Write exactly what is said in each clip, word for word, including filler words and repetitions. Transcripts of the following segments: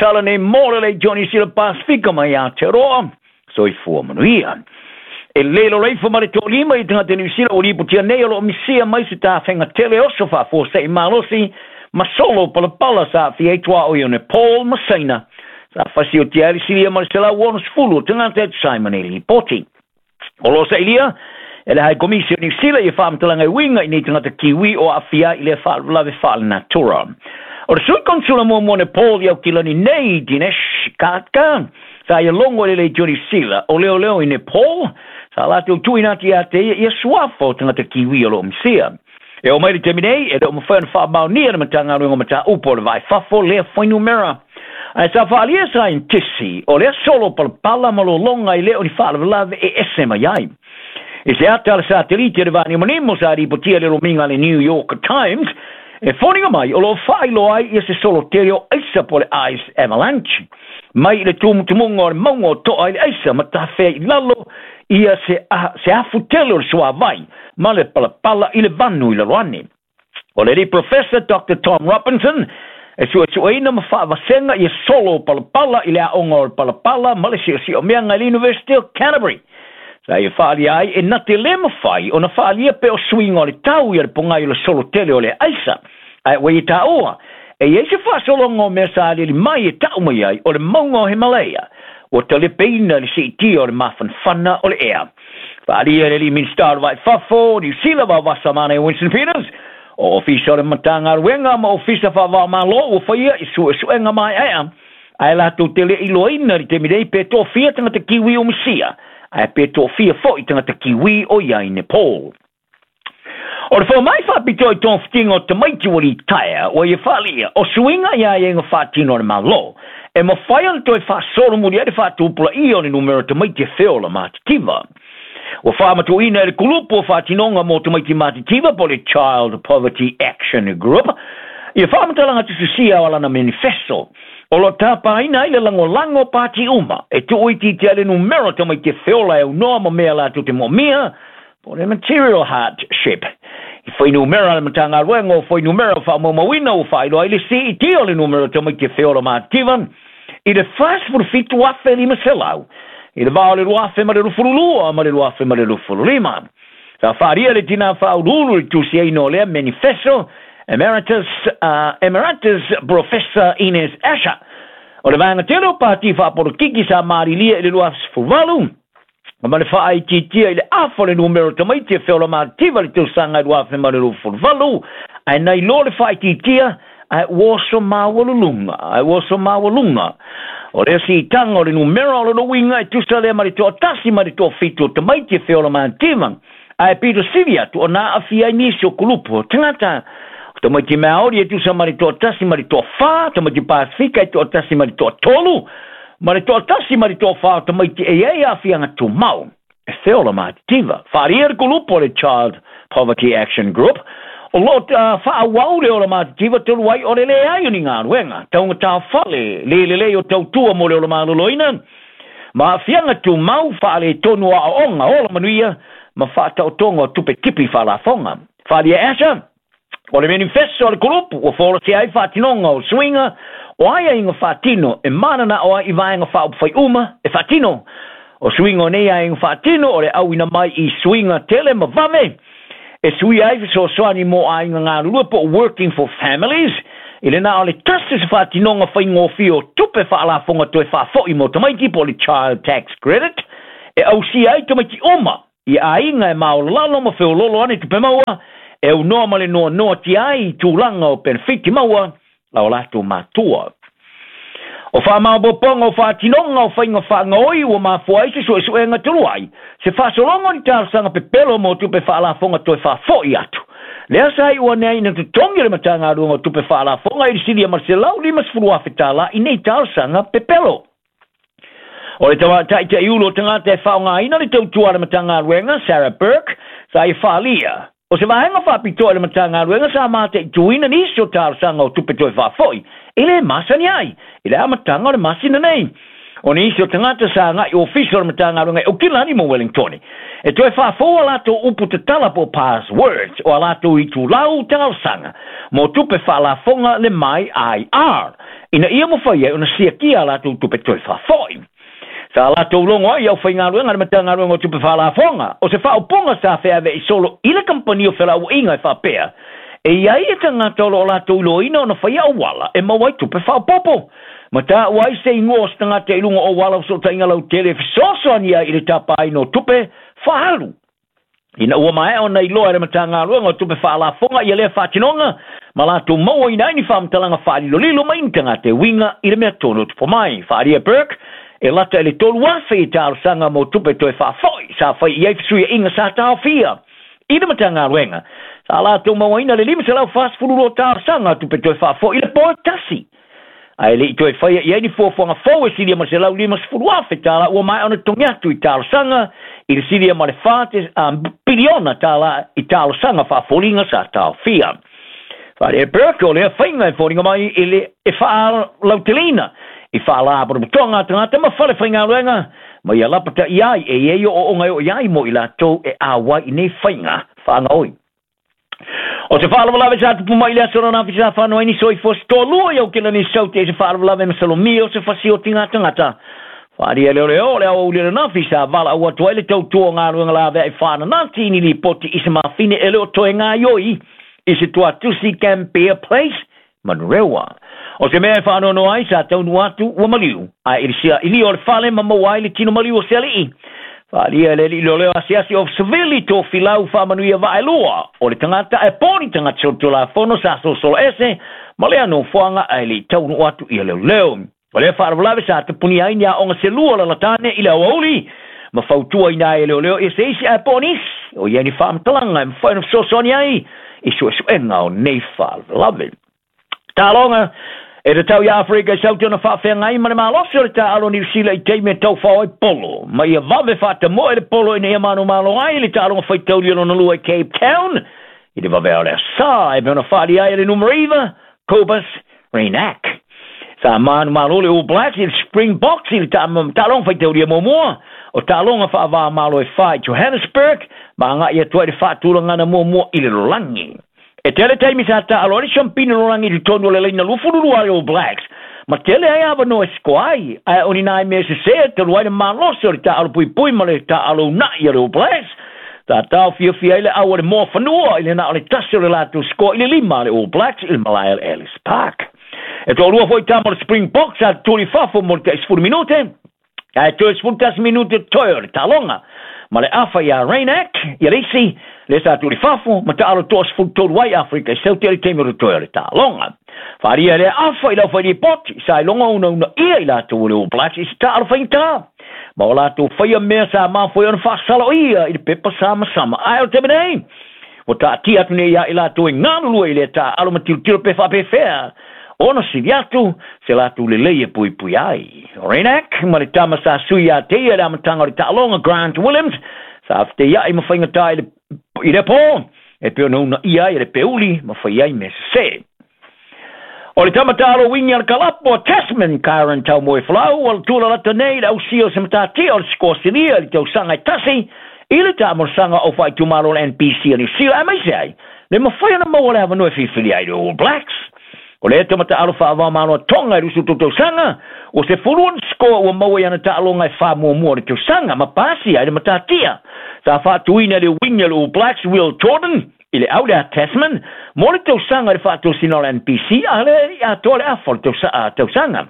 tala nei mo le leitioa Niu Sila Pasefika mai Aotearoa. Soifua manuia. E lelo leifo ma le toalima i tagata Niu Sila ua lipotia nei o loo misia mai se tafega tele oso faafuasei malosi ma solo palapala sa aafia ai tuaoi o Nepal ma Saina. Sa fasiotia ai le silia ma le selau onosefulu o tagata e tusa ai ma nei lipoti. O loo sailia e le Hai Komisi o Niu Sila ia faamatalaga e uiga i nei tagata Kiwi o aafia ai i lea faalavelave faalenatura. O le sui konsula muamua o Nepal i Aukilani nei, Dinesh Khadka, sa ia logo i le leitio Niu Sila o leoleo i Nepal, sa latou tuuina atu ia te ia ia suafa o tagata Kiwi o loo misia. E oo mai le taimi nei, e le o mafai ona faamaonia le Matagaluega o Mataupu o le Va i Fafo lea fuainumera. Ae sa faaalia saienitisi o lea solo palapala ma lologa e le o ni faalavelave e ese mai ai. I se ata a le satelite o le vaanimonimo sa lipotia le lomiga a le New York Times, e foliga mai o loo faailoa ai ia se solo tele o aisa po o le ice avalanche mai i le tumutumuga o le mauga o toa i le aisa ma tafea i lalo ia se, a, se afu tele o le suavai ma le palapala i le vanu i lalo ane. O le alii Professor Doctor Tom Robinson e suesueina ma faavasega ia solo palapala i le aoga o le palapala ma le siosiomea i le University of Canterbury. Sa ia faaalia ai e na te lē mafai ona faaalia pe o suiga o le tau ia le pogai o le solo tele o le aisa. Ae ua ia taua, e i ai se faasologa o mea sa aliali mai e tau mai ai o le mauga o Himalaya, ua talepeina le siitia o le mafanafana o le ea. Faaalia e le alii Minisita o le Va i Fafo, Niu Sila Vaovasa Manaia Winston Peters, o ofisa o le Matagaluega ma ofisa faavaomalo ua faia i suesuega maeaea, ae latou te le iloaina i le taimi nei pe toafia tagata Kiwi o misia, ae pe toafia foi tagata Kiwi o i ai i Nepal. O le fomai faapitoa i togafitiga o tamaiti ua litaea ua ia faaalia o suiga i aiaiga faatino a le Malo e mafai ona toe faasolomuli ai le faatupulaia o le numera o tamaiti e feola matitiva. Ua faamatuuina e le kulupu o faatinoga mo tamaiti matitiva po o le Child Poverty Action Group ia faamatalaga tusitusia o alana manifesto o loo tapaina ai le lagolago o pati uma e tuuitiitia ai le numera o tamaiti e feola e aunoa ma mea latou te moomia po o le material hardship. I fuainumera a le Matagaluega o Fuainumera o Faamaumauina ua faailoa ai le siitia o le numera o tamaiti e feola matitiva i le fasefulu fitu afe lima selau i le va o le lua afe ma le luafulu lua ma le lua afe ma le luafulu lima. Sa faaalia le tinā faauluulu i le tusiaina o lea manifesto, Emeritus, uh, Emeritus Professor Inez Asher. O le vaega tele o pati faapolokiki sa malilia i le lua afe sefulu valu, ma le faaitiitia i le afa o le numera o tamaiti e feola mativa i le tausaga i lua afe ma le luafulu valu, ae nai loa le faaitiitia, ae ua oso maualuluga, ae ua oso maualuga. O lea siitaga o le numera o lona uiga e tusa lea ma le toatasi ma le toafitu o tamaiti e feola mativa, ae pito sili atu ona aafia ai nisi o kulupu o tagata. O tamaiti Maori e tusa ma le toatasi ma le toafa, tamaiti Pasifika e toatasi ma le toatolu, ma le toatasi ma le toafa o tamaiti e i ai aafiaga tumau e feola matitiva. Faaalia le kulupu o le Child Poverty Action Group o loo uh, faaauau le ola matitiva talu ai o le leai o ni galuega taugata fale, le lelei o tautua mo le ola maloloina ma aafiaga tumau, faaletonu o aoaoga ola manuia ma faataotoga o tupe tipi faalafoga. Faaalia Asher o le manifesto a le kulupu ua folasia ai faatinoga o suiga o aiaiga faatino e mananao ai i vaega faaupufai uma e faatino. O suiga o nei aiaiga faatino o le auina mai i suiga tele ma vave e suia ai fesoasoani mo aiga galulue po o Working for Families i le na o le tasi se faatinoga faigofie o tupe faalafoga toe faafoi mo tamaiti po o le Child Tax Credit e ausia ai tamaiti uma i aiga e maolalalo ma feololo ane tupe maua e aunoa ma le noanoa tia ai i tulaga o penefiti maua a o latou matua. O faamaopoopoga o faatinoga o faiga faagaoi ua mafua ai se suesuega talu ai se faasologa o ni talosaga pepelo mo tupe faalafoga toe faafoi atu. Lea sa iu ane ai na totogi e le Matagaluega o Tupe Faalafoga i le silia ma le selau limasefulu afe tālā i nei talosaga pepelo. O le taitai ulu o tagata e faaaogaina le tautua a le Matagaluega, Sarah Burke, sa ia faaalia o se vaega faapitoa i le Matagaluega sa mataituina nisi o talosaga o tupe toe faafoi e lē masani ai i le amataga o le masina nei. O nisi o tagata sa agai ofisa o le Matagaluega e Aukilani mo Wellingtone E toe faafoua latou upu tatala po passwords o a latou itulau talosaga mo tupe faalafoga le mai I R ina ia mafai ai ona siakia a latou tupe toe faafo'i. Sa latou logo ai aufaigaluega le Matagaluega o Tupe Faalafoga o se faaupuga sa feaveai solo i le kamupani o felauaiga e faapea e iai e tagata o loo latou iloaina ona faia auala e maua ai tupe faaopoopo. Ma taua ai se igoa o se tagata i luga o auala o fesootaiga lautele e fesoasoani ai i le tapaina o tupe faaalu. Ina ua maea ona iloa e le Matagaluega o Tupe Faalafoga ia lea faatinoga ma latou mauaina ai ni faamatalaga faalilolilo mai ni tagata e uiga i le mea tonu o tupu mai. Faaalia Burke e lata i le tolu afe i talosaga mo tupe toe faafoi sa fai i ai fesuiaiga sa taofia i le Matagaluega. Sa latou mauaina le lima selau fasefulu lua talosaga tupe toe faafoi i le po e tasi. Ae le i toe faia i ai ni fuafuaga fou e silia ma le selau limasefulu afe tālā ua maea ona totogi atu i talosaga i le silia ma le fa piliona tālā i talosaga faafoliga sa taofia. Faale Burke o lea faiga e foliga mai i le e faalauteleina i faalapotopotoga a tagata ma fale faigaluega ma ia lapata'i ai e i ai o'ooga e oo i ai mo i latou e auai i nei faiga faagaoi. O se faalavelave sa tupu mai i le aso ananafi sa whanoa ai ni soifua se toalua i Aukelani Saute i se faalavelave masalomia o se fasiotiga tagata. Faaalia leoleo o le aoauli ananafi sa valaau atu ai le tautua o galuega laveai faananati i ni lipoti i se mafine e le o toe gaioi i se tuatusi Gambier Place Manurewa. O se mea e faanoanoa ai sa taunuu atu ua maliu ae i le sia'ilia o le fale ma maua ai le tino maliu o se ali'i. Faaalia e le alii leoleo asiasi o Sevili Tofilau faamanuia vaelua o le tagata ae po ni tagata solitulafono sa solosolo ese ma lea nofoaga ae le i taunuu atu ia leoleo. O lea faalavelave sa tapunia ai ni aoga selua lalatane i le aoauli ma fautuaina ai e leoleo ia se isi ae po o nisi o i ai ni faamatalaga e mafai ona fesoasoani ai i suesuega o nei faalavelave. Taloga e tatau iā Afrika i Saute ona faafeagai ma le malosi o le taalo Niu Sila i taimi e taufao ai polo ma ia vave faatamoe le polo ina ia manumalo ai le taaloga faitauli o lona lua i Cape Town i le vavea o le asā e pei ona faaalia ai e le numera iva Cobus Reinach. Sa manumalo le All Blacks i le Springboks i le taaloga faitaulia muamua o taaloga faavāmalo e fa i Johannesburg ma aga'i atu ai le faatulagana muamua i le lalolagi. E tele taimi sa taalo ai le siampina lalolagi i totonu o le laina luafululua a le All Blacks ma tele ai avanoa e sikoa ai ae o ni nai mea sesē talu ai le malosi o le taalo puipui ma le taalo una'i a le All Blacks. Sa taofiofia ai le au a le moa fanua i le na o le tasi o le latou sikoa i le lima a le All Blacks i le malae o le Ellis Park. E toalua foi tama o le Springboks sa tutuli i fafo mo le tai sefulu minute ae toe sefulu tasi minute toe o le taaloga ma le afa iā Reinach ia le isi lea sa tuu i fafo ma taalo toasefulu tolu ai Afrika i Saute i le taimi o totoe o le taaloga. Faaalia lea afa i le aufailipoti sa iloga unaunaia i latou o le All Blacks i se taalo faigata ma o latou faia mea sa mafua ai ona faasaloia i le pepa samasama. Ae o le taimi nei ua taatia atu nei iā i latou e galulue i lea taaalo ma tilotilo pe faapefea ona sili atu se latou lelei e puipui ai. Reinach ma le tama sa sui iā te ia i le amataga o le taaloga Grant Williams sa feteia'i ma faigata i le, i le pō e pei ona unaia ai e le peuli ma fai ai mea sesē. O le tama taalo wingi a le kalapo a Tasman Kyron Taumoefolau o le tulalata nei i le ausia o se matatia o le sikoa silia i le tausaga e tasi i le taamolosaga o faaitumalo o le N P C a Niu Sila aemaise ai le mafai ona maua le avanoa e filifili ai le All Blacks. O lea tama taalo faavāmalo a Tonga i luasefulu tolu tausaga ua sefulu ona sikoa ua maua i ana taaloga e fa muamua o le tausaga ma pasi ai le matatia. Sa faatuina e le wingi a le All Blacks Will Jordan i le au lea Tasman mo le tausaga i le faatosina o le N P C a le atoa le afa o le tausaga.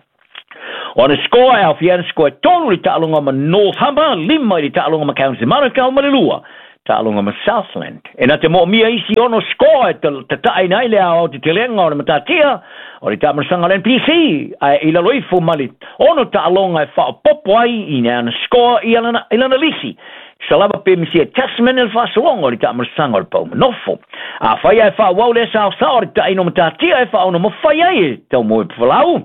O ana sikoa e aofia ana sikoa e tolu i le taaloga ma North Harbour, lima i le taaloga ma Counties Manukau ma le lua taaloga ma Southland. E na te moomia isi ono sikoa e tata'aina ai le aoaotetelega o le matatia o le taamalasaga o le N P C ae i lalo ifo ma le ono taaloga e faaopopo ai i ana sikoa i lana, i lana lisi. Sa lava pe misia Tasman i le faasologa o le taamalasaga o le paumanofo. Afai ae faaauau lea saosao o le taʻina o matatia e faaono mafai ai e Taumoefolau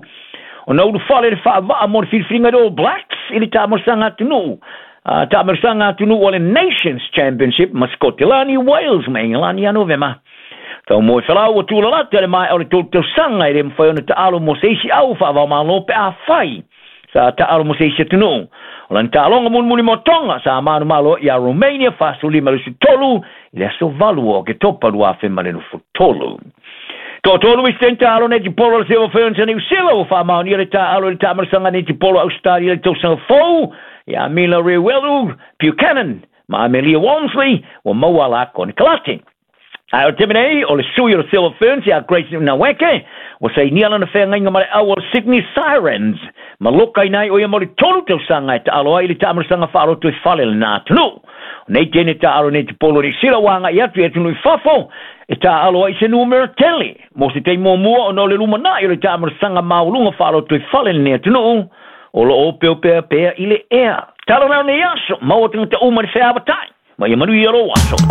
ona ulufale le faavaa mo le filifiliga i le All Blacks i le taamalasaga atunuu taamalasaga atunuu o le Nations Championship ma Scotland, Wales ma Engelani ia Novema. Taumoefolau ua tulalata le maea o le tolu tausaga e le mafai ona taalo mo se isi au faavaomalo pe afai Sa taalo mo se isi atunuu. O lana taaloga mulimuli mo Toga sa manumalo ia Romania fasefululima i le tolu i le aso valu o Oketopa lua afe ma le tolu. Toatolu isi taalo netipolo le Silver Ferns a Niu Sila ua faamaonia le taalo i le taamalosaga netipolo Ausetalia i le tausaga fou ia Mila Reuelu Buchanan ma Amelia Walmsley ua maua a la konekarate. Ae o le taimi nei o le sui o le Silver Ferns ia Grace Nweke ua sainia lana feagaiga ma le au o le Sydney Sirens ma lokaina ai o ia mo le tolu tausaga e taalo ai i le taamalosaga faaloto i fale lena atunuu. O nei teine taalo netipolo Niu Sila ua agai atu i atunuu i fafo e taalo ai se numera tele mo se taimi muamua ona o le lumanai o le taamalosaga maualuga faaloto i fale lenei atunuu o loo opeopea pea i le ea. Talo lea o nei aso, maua tagata uma i le feavatai ma ia manuia lou aso.